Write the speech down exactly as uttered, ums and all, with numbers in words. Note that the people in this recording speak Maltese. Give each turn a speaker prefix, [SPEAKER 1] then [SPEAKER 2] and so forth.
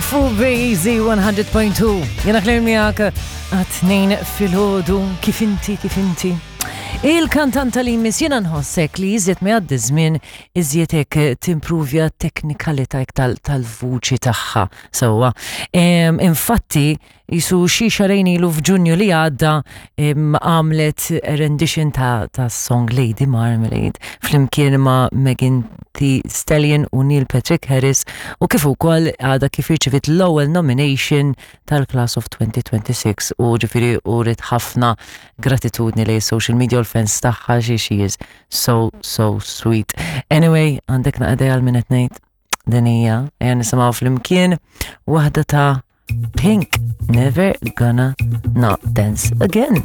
[SPEAKER 1] Fuq Easy one hundred point two. Jiena Claire miegħek għat-tnejn filgħodu, kif inti, kif inti? Il-kantanta li jmiss jiena nħossek li iżjed ma jgħaddi żmien iżjed hekk timpruvja teknikalità tal-vuċi tagħha. Sewwa. Infatti, jisu xi xahrejn ilu, f'Ġunju li għadda, għamlet rendition ta', ta song Lady Marmalade flimkien ma' Megan Thee Stallion u Neil Patrick Harris u kif ukoll għadha kif irċivit l-ewwel nomination tal-Class of twenty twenty-six u ġifieri uriet ħafna gratitudni lejn social media u l-fans tagħha. Xi she is so so sweet. Anyway, għandek naqra għal min qed ngħid? Din hija, ejja nisimgħu flimkien waħda ta' Pink, "Never Gonna Not Dance Again."